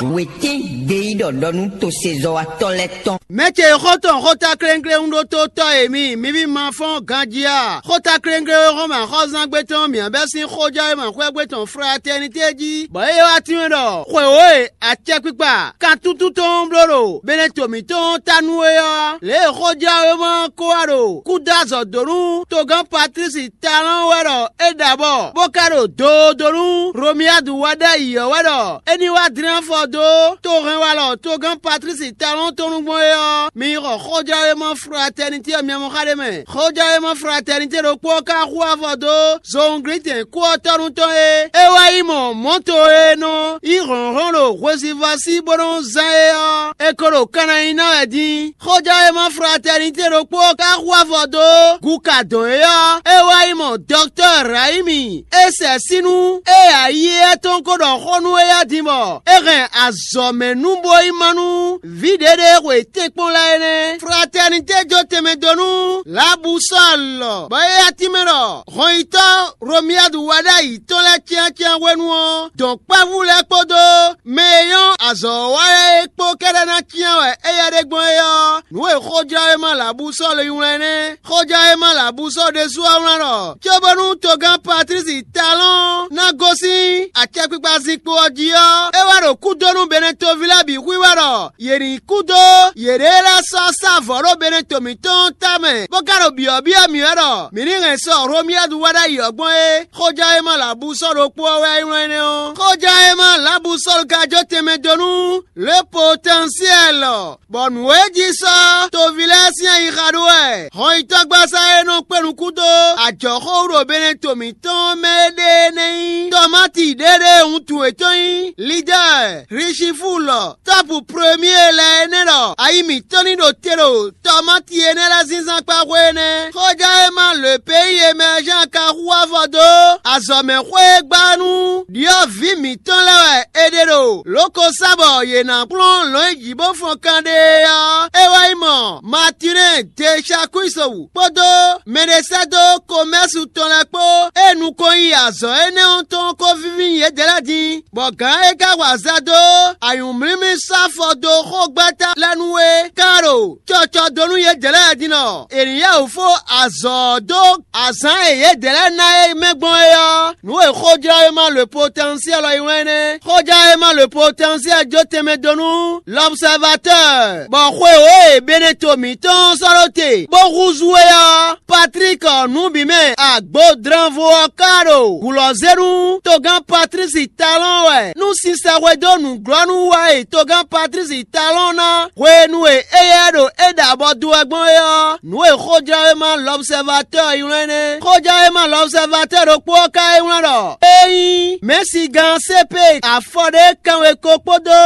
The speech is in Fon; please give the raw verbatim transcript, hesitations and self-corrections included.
Wětɛ́n gbeyíɖɔ ɖɔ nú tosezɔ́watɔ́ lɛ́ɛ tɔn. Mɛ ce xɔ́ntɔn xóta klénkléwún ɖótó tɔ́ e mi, mi ví ma fɔ́n ganjí a? Xóta klénkléwún e xɔ́n mɛ axɔ́zángbé tɔn mǐ bɛ́ sín xójɔ́wéma xwɛ́gbé tɔn Fratɛnitée jí, bɔ é wá tínmɛ ɖɔ xwewǒ e acɛkpikpa kantúntún tɔn bló ɖo Beneto mǐtɔn ta nú é ɔ́, lě e xójɔ́wéma ɔ́ ko wá ɖo kúdó azɔ̌ dó nú togán Patlísi Talɔ́n wɛ ɖɔ é ɖa bɔ bó ka ɖo doodo nú Romiyadu wɛ ɖ'ayǐ ɔ́ wɛ ɖɔ é ní wá dlɛ́n afɔ dó tohɛnwalɔ togán Patlísi Talɔ́n tɔn nú gbɔn é ɔ́, mi yi xɔ xójɔ́wéma Fratɛnitée ɔ́ mia mɔ xá ɖé mɛ. Xójɔ́wéma Fratɛnitée ɖokpó ɔ́ ka hu afɔ dó zowunglítɛn kú ɔ́ tɔ́ nú tɔn e é wá yi mɔ mɔ̌to e nɔ yí hlɔ̌nhlɔ́n ɖo hwesivɔ́ sí bó nɔ́ zán é ɔ́, è ko ɖo kanna nyi ná wɛ din. Xójɔ́wéma Fratɛnitée ɖokpó ɔ́ ka hu afɔ dó gu ka dɔn é ɔ́, é wá yi mɔ Dɔktɔ́ Rayimi. É sɛ sínú é ayí étɔn ko ɖɔ xó nú éyɛ́ din bɔ é hɛn azɔ̌mɛnúboyímá nú vǐ ɖěɖé e xwe tɛ́nkpɔ́n lɛ́ɛ é nɛ́. Fratɛnitée jó tɛnmɛ dó nú Labusɔ́ɔlɔ, bɔ é yá tínmɛ ɖɔ hɔnyitɔ́ Romiyadu wɛ ɖ'ayǐ tɔn lɛ́ɛ cyáncyán hwenu ɔ́, dɔ̌nkpɛvú lɛ́ɛ kpódó mɛ e nyɔ́ azɔ̌ wa lɛ́ɛ é kpó kɛ́ɖɛ́ ná cyán wɛ éyɛ́ ɖe gbɔn é ɔ́, nǔ e xójɔ́wéma Labusɔ́ɔlu nylá ɛ nɛ́. Xójɔ́wéma Labusɔ́ɔlu ɖésú ɔ́ wlán ɖɔ cóbónú togán Patlísi Talɔ́n ná gosín acɛkpikpa zinkpo ɔ́ jí ɔ́, é wá ɖo kú dó nú Benɛtoví lɛ́ɛ bǐ xwíwá ɖɔ yě ní kú dó yěɖée lɛ́ɛ sɔ́ sá vɔ̌ ɖó Beneto mǐtɔn ɔ́ tamɛ, bó ka ɖo byɔ̌byɔ́ mǐ wɛ ɖɔ mǐ ní hɛn sɔ Romiyadu wɛ ɖ'ayǐ ɔ́ gbɔn é. Xójɔ́wéma Labusɔ́ɔlu ɖokpó ɔ́ wɛ é wlán énɛ́ ɔ́. Xójɔ́wéma Labusɔ́ɔlu ka jó tɛnmɛ dó nú Le Potɛnsiɛ́lɔ, bɔ nǔ e jí sɔ́ toví lɛ́ɛ sín ayixa ɖó wɛ hɔnyitɔ́gbasá e nɔ kpé nukún dó ajɔ̌xó wú ɖo Beneto mǐtɔn mɛ é ɖe énɛ́ nyí Tɔmáti ɖéɖée wuntun yětɔn nyí Lidɛ́ɛ, Hlisifu lɔ, tɔ́pu Premyée lɛ́ɛ é nɛ́ ɖɔ ayi mǐtɔn ní ɖo te ɖo tɔmáti énɛ́ lɛ́ɛ zínzán kpá xwé énɛ́. Xójɔ́wéma lǒ e péyi e mɛ Jean ka hu afɔ dó azɔ̌mɛxwé e gbá nú ɖyɔ̌vǐ mǐtɔn lɛ́ɛ wɛ è ɖe ɖo lǒ ko sá bɔ yě ná kplɔ́n lɔ̌nyijǐ bó fɔn kanɖé é ɔ́, é wɛ nyí mɔ Matinɛ́ɛ Deshakwiso kpódó mɛɖesɛ́dó Komɛ́su tɔn lɛ́ɛ kpó e nukɔn yi azɔ̌ énɛ́ ɔ́ tɔn ko víví nyi yědɛɛ lɛ́ɛ din. Bɔ gǎn e ka wa za dó anyǔmlímlí sɔ́ afɔ dó xógbɛ́ta lɛ́ɛ nu é ka ɖo cɔcɔ dó nú yědɛɛ lɛ́ɛ din ɖɔ è nǐ yá wǔ fó azɔ̌ ɔ́ dó azǎn e yědɛɛ lɛ́ɛ ná é mɛ gbɔn é ɔ́, nǔ e xójlɔ́wéma le potɛnsiɛ́l ɔ́ yi wɛn nɛ́. Xójlɔ́wéma le potɛnsiɛ́l jó tɛnmɛ dó nú L'Observateur, bɔ xwewǒ e Beneto mǐtɔn sɔ́ ɖó te bó húzú é ɔ́, Patlík nǔbǐmɛ agbodranvo ɔ́ ka ɖo gǔlɔ́ zé nú togán Patlísi Talɔ́n wɛ nú sinsɛnxwedó nǔglɔ́núwa e togán Patlísi Talɔ́n ná hwenu e éyɛ́ ɖo é ɖa abɔ dó wɛ gbɔn é ɔ́, nǔ e xójlɔ́wéma L'Observateur ylɔ́ ɛ nɛ́. Xójlɔ́wéma L'Observateur ɖokpó ɔ́ ka é wlán ɖɔ: Ényí mɛ̌sigán Sépee afɔ ɖé kanwe ko kpódó